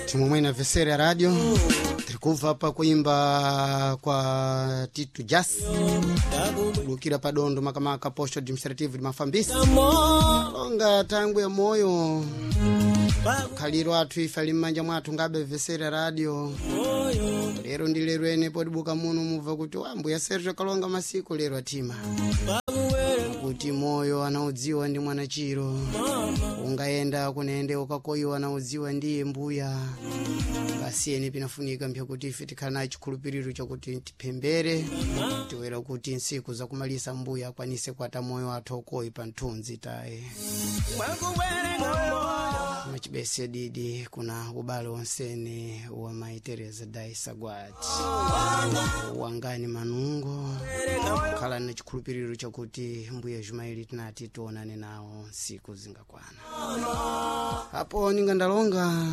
Timu mwene vesere ya radio tirikubva pa kuimba kwa Tito Jas lukira padondo makamaka posto administrative limafambisi longa tangu ya moyo khaliro athu ife ali mmanja mwathu ngabe vesere ya radio. Lero ndi lero ene podibuka muno mubva kuti ambuya Sergio kalonga masiku lero atima kuti moyo anaudziwa ndi mwana chiro ungayenda kunende ukakoyiwa anaudziwa ndiye mbuya. Pasiyeni pinafunika mpyakuti ife tikhala naye chikhulupiriro chakuti tiphembere tiwera kuti nsiku zakumalisa mbuya akwanise kuata moyo athu okoyi pa nthunzi taye machibese didi kuna ubale wonsene wa mai Teresa Daisa Gwati wangani manungo khala na chikhulupiriro chakuti mbuya Jumaili tinati tionane nawo nsiku zingakwana. Apo ninga ndalonga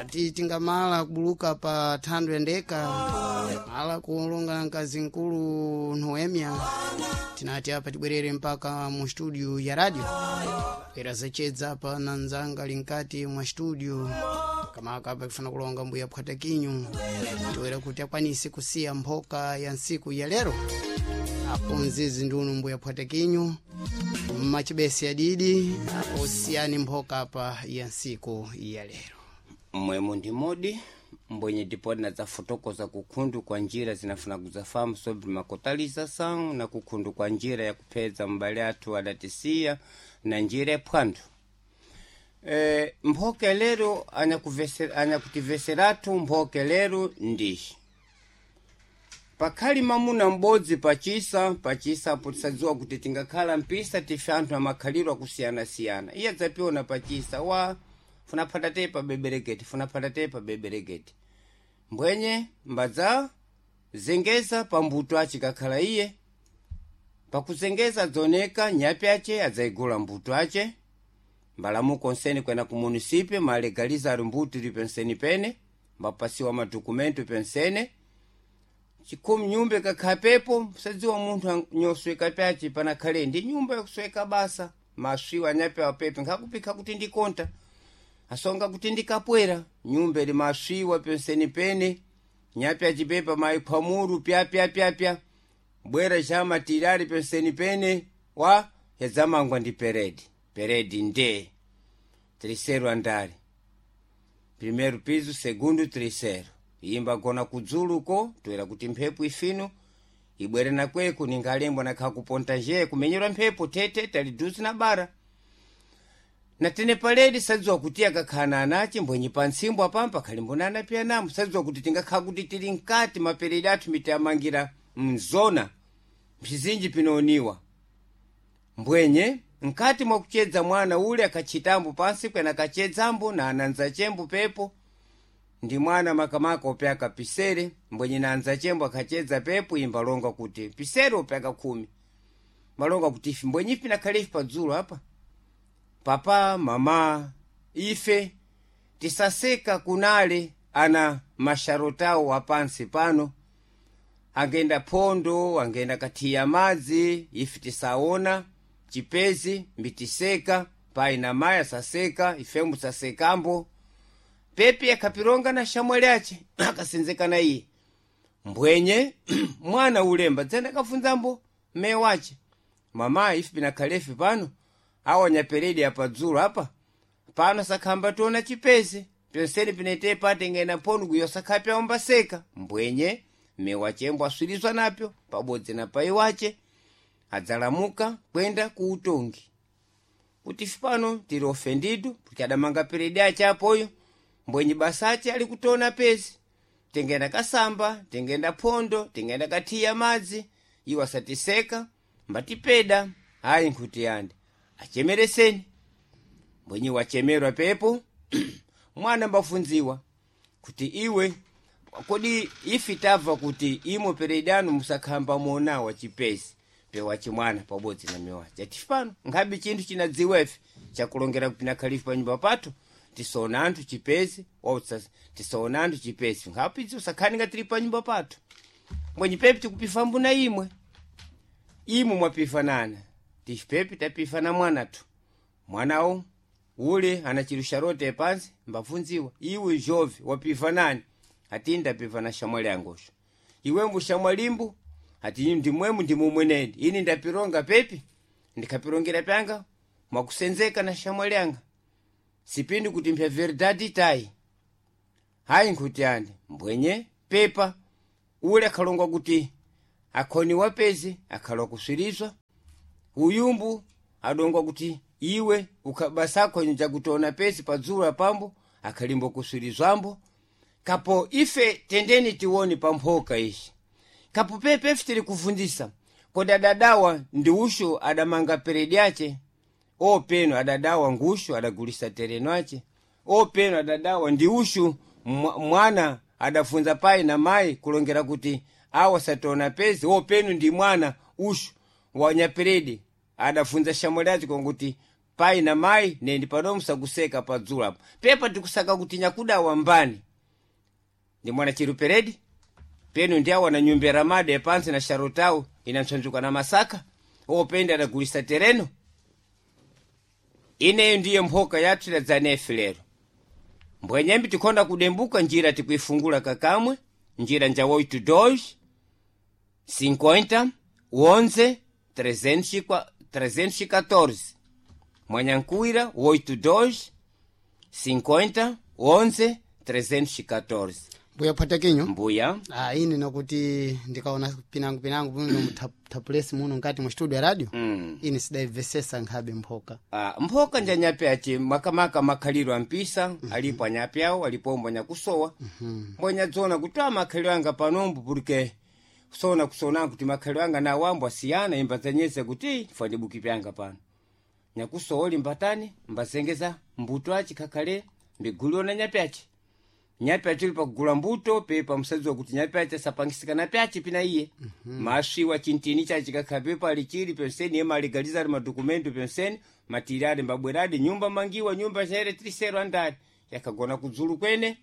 ati tingamala kubuluka pa thando yandeka mala kulonga na mkazi mkulu Noemia tinati apa tibwerere mpaka mu studio ya radio era zacedza apa na nzanga linkati mwa studio kamaka apa kufuna kulonga mbuya Phwatakinyu tiwera kuti akwanise kusiya mphoka ya nsiku ya lero. Apo nzizi ndunu mbuya Phwatakinyu mmachibesi adidi apo siyani mphoka apa ya nsiku ya lero. Mmwemo ndi modi mbwenye dipodi na zafotokoza kukhundu kwa njira zinafuna kuzafamu sobre makotalização na kukhundu kwa njira ya kuphedza mbale athu adatisiya na njira ya phwanthu. Mphoka lero anyakutiveseratu mphoka lero ndishi pakhali mamuna m'bodzi pachisa pachisa apo tisadziwa kuti tingakhala mpisa tife anthu amakhaliro akusiyana-siyana. Iye adzapiona pachisa wa funaphata te pa bebereketi funaphata te pa bebereketi mbwenye mbadza zengeza pambuto ace kakhala iye pakuzengeza adzaoneka nyapi ace adzayigula mbuto ace mbalamuko onsene kwena ku munisipio malegaliza ali mbuto ili penseni pene mbapasiwa madokumento pensene chikhumi nyumba ikakhala pepo sadziwa munthu nyosweka pyace panakhale ndi nyumba yakusweka basa maswiwa anyapi apepe nkhakupikha kuti ndikonta asonga kuti ndikapwera nyumba ili maswiwa penseni pene nyapi acipepa mayikhwamuru pyapyapyapya bwera cha matirali penseni pene wa yadzamangwa ndi peredi peredi nde terceiro andare primeiro piso segundo terceiro imba gona kudzuluko toera kuti mphepo ifino ibwere nakweko ningalembwa nakha kuponta nje kumenyerwa mphepo tete tali duzi na bara na tene paledi sadziwa kuti akakhala anace mbwenye pa ntsimbo apampa khali mbonana piyanamo sadziwa kuti tingakhala kuti tili mkati maperedi athu mitiamangira mzona mpizinji pinooniwa mbwenye mkati mwakuchedza mwana ule akatchitambo pansi kwena akachedzambo na ananza chembo pepo ndi mwana makamaka opyaka pisere mbwenye na anzachembo akhachedza pepo imba longa kuti pisere opyaka khumi malonga kuti ife mbwenye ife nakhale ife padzulo apa papa mama ife tisaseka kunale ana masharotawo apansi pano angenda phondo angenda kathiya madzi ife tisaona chipezi mbitiseka pai na mayi asaseka ifembo sasekambo pepi akhapironga na shamwali ace akasenzekana iye mbwenye mwana ulemba dzenda kafunzambo mme wace mama ife pinakhalefe pano awanya peredi apadzulo apa pano sakhamba tiona chipezi penseni pinete patengena phono kuyo sakhapi aombaseka mbwenye mme wachembo aswirizwa napyo pabodzi na pai wace adzalamuka kwenda ku utongi kuti ife pano tili ofendido porque adamanga peredi ace apoyo mbwenye basace ali kutona pezi tengenda kasamba tengenda phondo tengenda kathiya madzi iwo asatiseka mbatipeda ayi nkhuti yande achemereseni mbwenye wachemerwa pepo mwana mbafunziwa kuti iwe kodi ifi tabva kuti imo peredano musakhamba monawa chipezi pewachimwana pabodzi na miwachi atifi pano nkhabe chinthu chinadziwa ife chakulongera kupinakhalifu panyumba pathu tisaona anthu chipezi tisaona anthu chipezi nkhapidzi usakhani nga tili panyumba pathu mbwenye pepi tikupifa mbuna imwe imwe mwapifanana tifi pepi tapifana mwanathu mwanawo Ule anachirusha rote pansi, mbavunziwa iwe jovi wapiva nani? Ati ndapiva na shamwali angosho. Iwembu shamwalimbu? Ati ndimwemu ndimumweneni ini ndapironga pepi ndikapirongera pyanga mwakusenzeka na shamwali anga sipindi kuti mpya verdade tai. Hayi nkuti andi mbwenye pepa ule akhalongwa kuti akhoni wapezi akhalwa kuswirizwa. Uyumbu adongwa kuti iwe ukabasakho njakutona pesi padzula pambo akhalimbo kuswirizwambo. Kapo ife tendeni tiwoni pamphoka ishi. Kapo pepe ife tili kuvundisa kodi adadawa ndi ushu adamanga peredi ache openo adadawa ngushu adagulisa tereno ache openo adadawa ndi ushu mwana adafunza pai na mai kulongera kuti awa satona pezi openo ndi mwana ushu wanyaperedi adafunza shamwali ache konguti pai na mai nendi pano musakuseka padzula apo. Pepa tikusaka kuti nyakudawa mbani ndi mwana chiruperedi penu ndi awa na nyumba ramade yapansi na sharotau inantsanzuka na masaka openda adagulisa tereno. Ineyo ndiye mphoka yathu idadzanefe lero. Mbwenyembi tikhonda kudembuka njira tikuifungula kakamwe njira nja 82 50 11 314 mwanyankuwira 82 50 11 314. Mbuya phwatakinyo. Mbuya. Ah, ine nakuti ndikaona pinango pinango muno mutapulesi muno nkati mu studio ya radio. Ine sidaibvesesa nkhabe mphoka. Ah, mphoka njanyape aci makamaka makhaliro ampisa. Alipo anyape awo alipo nyakusowa. Mbonyadzona kuti a makhaliro anga panombo porque kusona kusona kuti makhaliro anga na awambo asiyana imbadzanyeza kuti fandibuki pyanga pano nyakusowa limbatani mbazengeza mbuto aci khakhale mbiguliona nyape aci nyape aci pakugula mbuto pepa musadziwa kuti nyape aci asapangisika na pyaci pina iye. Maswiwa chintini chaci kakhala pepa alichili penseni yema aligaliza ali madokumento penseni matiri ali mbabweradi nyumba mangiwa nyumba chaere trisero andali yakagona kudzulu kwene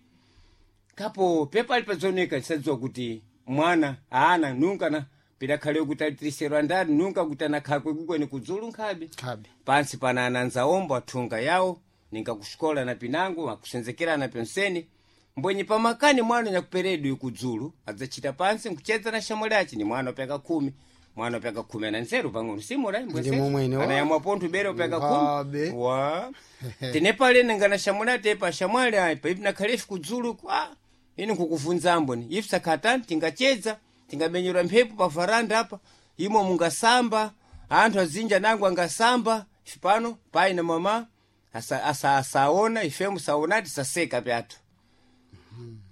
kapo pepa ali padzoneka tisadziwa kuti mwana aana nunka na pidakhale kuti ali trisero andali nunka kuti anakhala kwekukwene kudzulu nkhabe. Nkhabe. Pansi pana ananza ombo athunga yawo ninga kuxikola na pinango akusenzekerana penseni mbwenye pamakani mwana nyakuperedwe kudzulu adzachita pansi nkuchedza na shamwali aci ni mwana upeka 10 mwana upeka 10 ana nzeru pang'ono simura Ndi momwene, wa. anayamwa pontho bere upeka Nkhabe. 10 wa tenepale ningana shamwali atepa shamwali ayi paipi nakhalefi kudzulu kwa ine nkukuvunza ni ife sakhatani tingachedza tingabenyerwa mphepo pa varanda apa imo mungasamba anthu azinja nangu angasamba ife pano pai na mama asaona ife musaona tisaseka pyathu.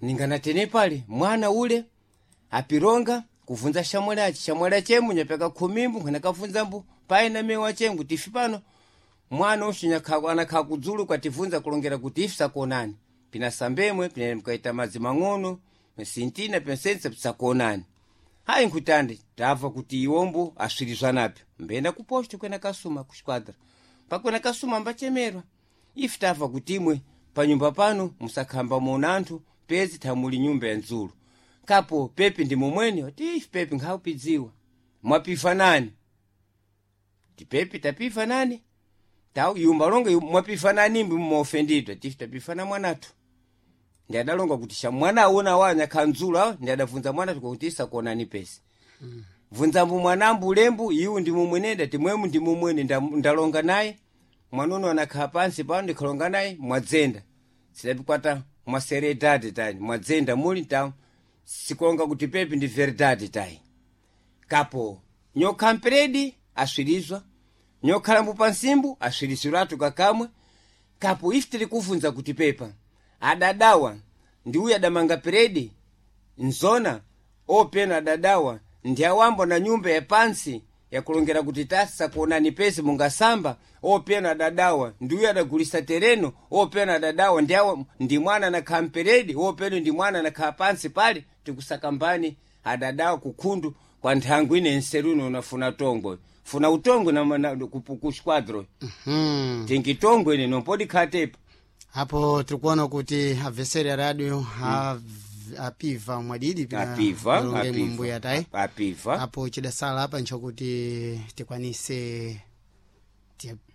Ningana tene pale mwana ule apironga kuvunza shamwali aci shamwali achemu nyapeka khumimbu nkhanakavunzambu pai na mewa chemu kuti ife pano mwana ushu anakhala kudzulu kwativunza kulongera kuti ife sakuonani pinasambemwe pina mkaita madzi mang'ono sintina pensense pisakuonani. Hayi nkutande tamva kuti iwombo aswirizwa napyo mbenda kuposto kwena kasuma kusquadra pakwena kasuma mbachemerwa ife tamva kuti imwe panyumba pano musakhamba mona anthu pezi thamuli nyumba ya ndzulu kapo pepi ndi momweni ati ife pepi nkhaupidziwa mwapiva nani tipepi tapiva nani tau yumba longa mwapiva nani mbi muofendidwa tife tapiva na mwanathu. Ndi adalonga kuti sha mwana awona wa nyakhandzulu awa ndi adavunza mwana kuti isakuonani pesi. Vunzambu mwanambu ulembu iwu ndi mumwenenda timwemu ndi mumwene ndalonga naye mwanuno anakhala pansi pano ndikhalonga naye mwadzenda sidapikwata mwaseredade tayi mwadzenda muli ta sikulonga kuti pepi ndi verdade tayi. Kapo nyokha mperedi aswirizwa nyokhalambu pansimbu aswiriziratu kakamwe. Kapo ife tili kuvunza kuti pepa adadawa ndi uyu adamanga peredi nzona opena adadawa ndi awambo na nyumba ya pansi yakulongera kuti tasakuonani pesi mungasamba opena adadawa ndi uyu adagulisa tereno opena adadawa ndi awa ndi mwana anakhala mperedi openo ndi mwana anakhala pansi pale tikusakambani adadawa kukhundu kwa nthangu ine nseruno unafuna tongwe funa utongwe na ku squadron. Tingitongwe ine nompodi khatepa. Apo tirikuona kuti adversary ya radio apiva mwadidi pina Apiva, malonge apiva. mbuya tayi. Apiva. Apo chidasala apa nchokuti tikwanise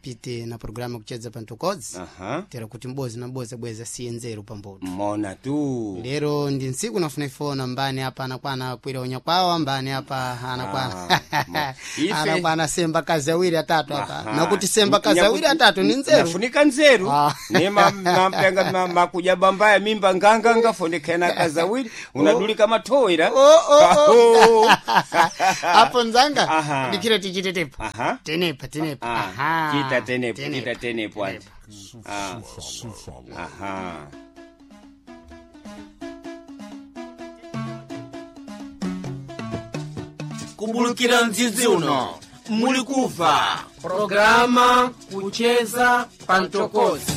Pite na programa kucheza pantokodzi. Aha. Tera kuti mbozi na mbozi abweza siye nzeru pambuto. Mona tu. Lero ndi ntsiku nafuna ifona mbani apa anakwana kwira unya kwawo, mbani apa anakwana Ah, ife- anakwana semba kazi awiri atatu apa. Aha. Nakuti semba kazi awiri atatu ni nzeru. Nafunika nzeru. Ah. Ne mampyanga makuja bambaya mimba nganganga fonekana kazawiri unadulika matowera. Oh, oh, oh. Aho. Apo nzanga Aha. dikira tichitetepa. Aha. Tenepa tenepa. Ah, Aha. chita tenepo, chita tenepo ati. Tenepa. Ah. Aha. Kumbulukira mdzidzi uno muli kuva Programa kucheza pantokozi.